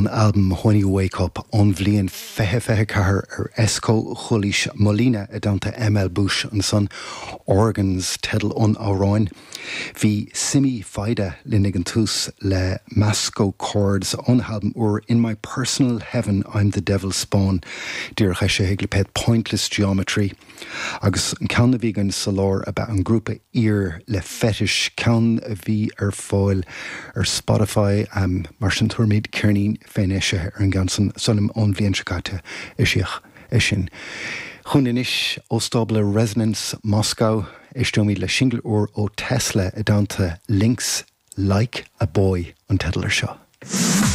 ón albam When You Wake Up ón bhliain 2024 ar Escho. Chualaís Molina i dteannta ML Bush ansan, Organs teideal an amhráin. Bhí Simi Fida linn ag an tús le Masco Chords óna halbam úr In My Personal Heaven I'm The Devil's Spawn, díreach eisithe ag lipéad Pointless Geometry. Agus an ceann a bhí againn sa lár ab ea an grúpa Ear le Fetish, ceann a bhí ar fáil ar Spotify, mar sin tabharfaimid ceirnín féin-eisithe ar an gceann san, sílim ón bhliain seo caite eisíodh é sin. Chugainn anois ó stábla Resonance Moscow, éisteoimid le singil úr ó Tesla i dteannta Lynx, Like a Boy an teideal ar seo.